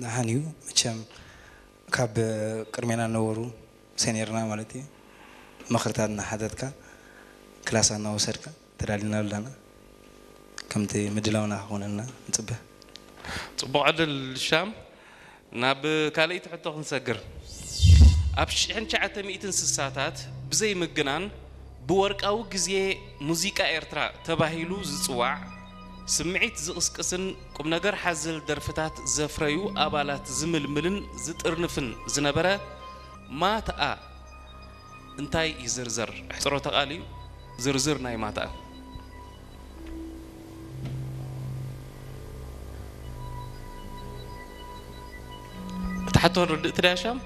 ደሓን እዩ። መቸም ካብ ቅድሜና ነበሩ፣ ሴኒየርና ማለት እዩ፣ ምኽርታት እናሓተትካ፣ ክላስ እናወሰድካ ተዳሊና ኣለና። ከምቲ ምድላውና ክኾነልና ንጽበ። ጽቡቕ ዕድል ሻም። ናብ ካልኣይቲ ሕቶ ክንሰግር። ኣብ ሽሕን ትሽዓተ ሚእትን ስሳታት ብዘይ ምግናን ብወርቃዊ ግዜ ሙዚቃ ኤርትራ ተባሂሉ ዝጽዋዕ፣ ስምዒት ዝቕስቅስን ቁም ነገር ሓዘል ደርፍታት ዘፍረዩ ኣባላት ዝምልምልን ዝጥርንፍን ዝነበረ ማትኣ እንታይ ይዝርዘር? ኣሕጽሮተ ቃል እዩ። ዝርዝር ናይ ማትኣ። እቲ ሕቶ ርድእቲ ድያ ሻም?